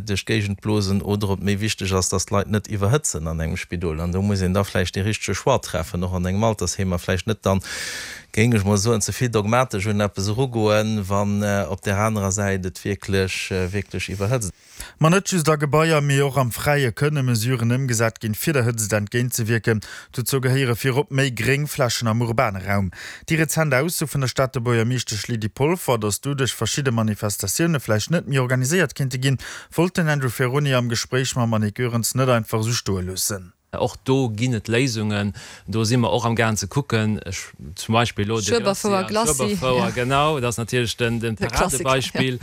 duerch d'Géigend blosen oder ob méi wichteg ass, dass d'Leit net iwwerhëtzen an engem Spidol. An do muss een da vläicht dee richtege Choix treffen, och an engem Altersheem, a vläicht net dann, géing ech mol soen, ze vill dogmatesch un eppes erugoen, wann op där anerer Säit et wierklech, wierklech iwwerhëtzt. Ma net just a Gebaier, mee och am Fräie kënne Mesuren ëmgesat ginn, fir der Hëtzt entgéintzewierken. Dozou gehéiere virop méi Gréngflächen am urbane Raum. Déi rezent Ausso vun der Stater Buergermeeschtesch Lydie Polfer, datt doduerch verschidde Manifestatioune vläicht net méi organiséiert kéinte ginn, wollt den Andrew Ferrone am Gespréich mam Annick Goerens net einfach esou stoe loossen. Och do ginn et Léisungen. Do si mer och am gaang ze kucken, ech zum Beispill elo de Schueberfouer, Glacis, Schueberfouer, genau, dat ass natierlech den, den Paradebeispill.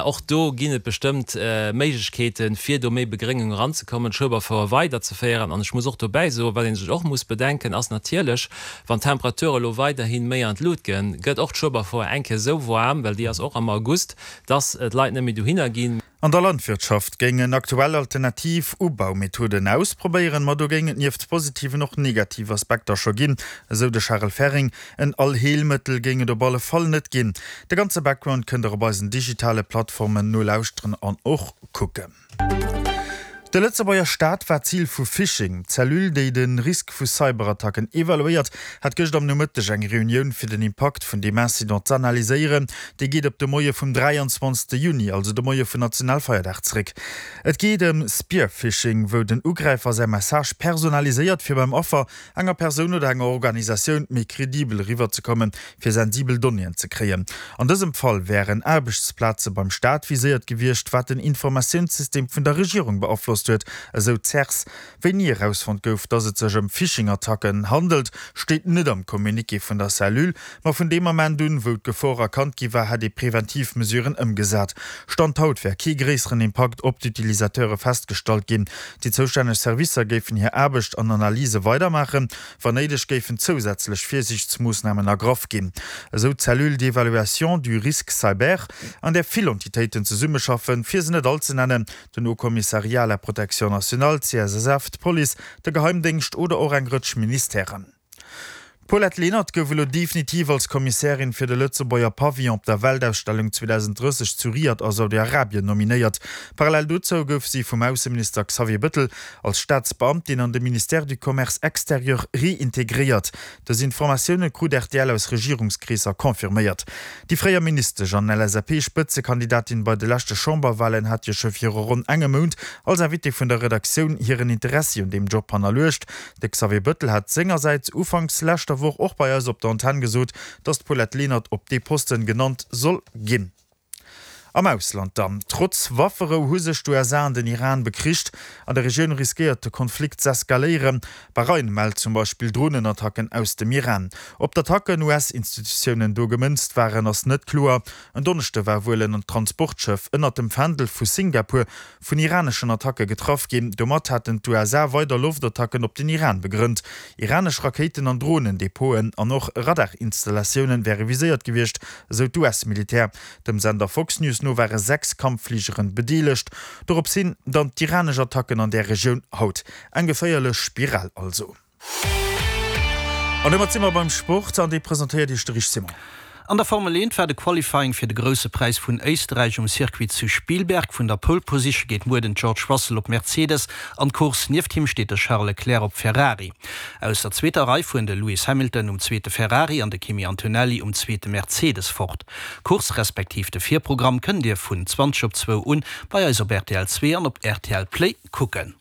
Och do ginn et bestëmmt Méiglechkeeten, fir do méi Begréngung eranzekommen, d'Schueberfouer weiderzeféieren. An ech muss och dobäi soen, wat ee sech och muss bedenken, ass natierlech, wann d'Temperature elo weiderhi méi an d'Lut ginn, gëtt och d'Schueberfouer eng Kéier esou waarm, well déi ass och am August, dass d'Leit net méi dohinner ginn. An der Landwirtschaft géingen aktuell alternativ Ubaumethoden ausprobéieren, ma do géing et nieft positiven och negativ Aspekter scho ginn, esou de Charel Ferring. En Allheelmëttel géing et op alle Fall net ginn. De ganze Background kënnt der op eisen digitale Plattformen nolauschteren an och kucken. De Lëtzebuerger Staat war Zil vu Phishing. D'Cellule, déi de Risk vu Cyberattacken evaluéiert, hat gëscht am Nomëtteg eng Reunioun fir den Impakt vun deem Incident z'analyséieren. Déi geet op de Moie vum 23. Juni, also de Moie vun Nationalfeierdag zeréck. Et geet ëm Spear-Phishing, wou den Ugräifer säi Message personaliséiert, fir beim Affer, enger Persoun oder enger Organisatioun, méi kredibel eriwwerzekommen, fir sensibel Donnéeën ze kréien. An dësem Fall wären Aarbechtsplaze beim Staat viséiert gewiescht, wat den Informatiounssystem vun der Regierung beaflosst huet, esou d'CERS. Wéini erausfonnt gouf, datt et sech ëm Phishing-Attacken handelt, steet net am Communiqué vun der Cellule. Ma vun deem Ament un, wou d'Gefor erkannt gi war, hätt ee preventiv Mesuren ëmgesat. Stand haut wär kee gréisseren Impakt op d'Utilisateure festgestallt ginn. Déi zoustänneg Servicer géifen hir Aarbecht an Analyse weidermaachen. Wann néideg géifen zousätzlech Virsiichtsmoossnamen ergraff ginn, esou d'Cellule d'évaluation du risque cyber, an där vill Entitéiten zesummeschaffen, fir se net all ze nennen, den Haut Commissariat à la protection nationale, d'CSSF, d'Police, de Geheimdéngscht oder och eng Rëtsch Ministèren. D'Paulette Lenert gouf elo definitiv als Kommissärin fir de Lëtzebuerger Pavillon op der Weltausstellung 2030 zu Riad a Saudi-Arabien nominéiert. Parallel dozou gouf si vum Ausseminister Xavier Bëttel als Staatsbeamtin an de Ministère du Commerce extérieur reintegréiert. Dës Informatioune krut rtl aus Regierungskreesser confirméiert. Déi fréier Ministesch an LSAP-Spëtzekandidatin bei de leschte Chamberwalen hat jo scho viru ronn engem Mount als Invitée vun der Redaktioun hiren Interessi un deem Job hannerluecht. De Xavier Bëttel hat sengersäits ufanks leschter Woch och bei eis op der Antenn gesot, datt d'Paulette Lenert op dee Posten genannt soll ginn. Am Ausland dann, Trotz Wafferou hu sech d'USA an den Iran bekricht. An der Regioun riskéiert de Konflikt z'eskaléieren. Bahrain mellt zum Beispill Dronenattacken aus dem Iran. Ob d'Attacken US-Institutiounen do gemënzt waren, ass net kloer. En Donneschde war wuel en Transportschëff ënnert dem Fändel vu Singapur vun iraneschen Attacke getraff ginn. Domat haten d'USA weider Loftattacken op den Iran begrënnt. Iranesch Rakéiten an Dronen-Depoten an och Radarinstallatioune wäre viséiert gewiescht, esou d'US-Militär. Dem Sender Fox News no ware 6 Kampffligeren bedeelegt. Dorops hin dann d'iranesch Attacken an där Regioun haut. Eng geféierlech Spiral also. An domat si mer beim Sport an dee presentéiert Iech de Rich Simon. An der Formel 1 war de Qualifying fir de Grousse Präis vun Éisterräich um Circuit zu Spielberg. Vun der Pole Position geet muer den George Russell op Mercedes an d'Course. Nieft him steet de Charles Leclerc op Ferrari. Aus der zweeter Rei fueren de Lewis Hamilton um zweete Ferrari an de Kimi Antonelli um zweete Mercedes fort. D'Course respektiv de Virprogramm kënnt Dir vun 20 op zwou un bei eis op rtl 2 an op rtl Play kucken.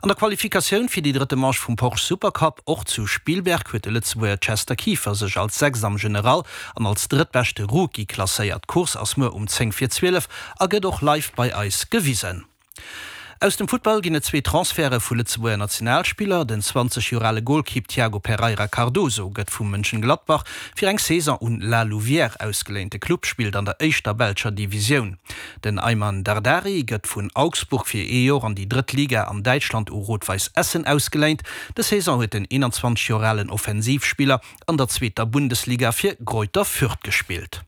An der Qualifikatioun fir déi drëtte Manche vum Porsche Supercup, och zu Spielberg, huet de Lëtzebuerger Chester Kieffer sech als Sechst am General an als drëttbeschte Rookie klasséiert. D'Course ass muer um 10 vir 12 a gëtt och live bei eis gewisen. Aus dem Futtball ginn et zwee Transferte vu Lëtzebuerger Nationalspiller. Den 20 Joer ale Golkipp Tiago Pereira Cardoso gëtt vu Mönchengladbach fir eng Saison un La Louvière ausgeléint. De Club spillt an der éischter belscher Divisioun. Den Aiman Dardari gëtt vun Augsburg fir ee Joer an déi drëtt Liga an Däitschland u Rot-Weiss Essen ausgeléint. Dës Saison huet den 21 Joer alen Offensivspiller an der zweeter Bundesliga fir Greuther Fürth gespillt.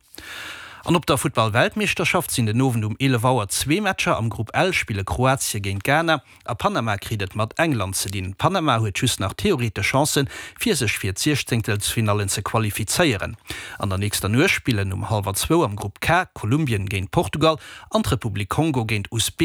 An op der Futtball-Weltmeeschterschaft sinn den Owend um 11 Auer zwee Matcher. Am Grupp L spille Kroatie géint Ghana A Panama kritt et mat England ze dinn. Panama huet just nach theoretesch Chancen, fir sech fir d'Siechzéngtelsfinallen ze qualifizéieren. An der nächster Nuecht spillen um hallwer zwou am Grupp K Kolumbien géint Portugal an d'Republik Kongo géint Usbekistan.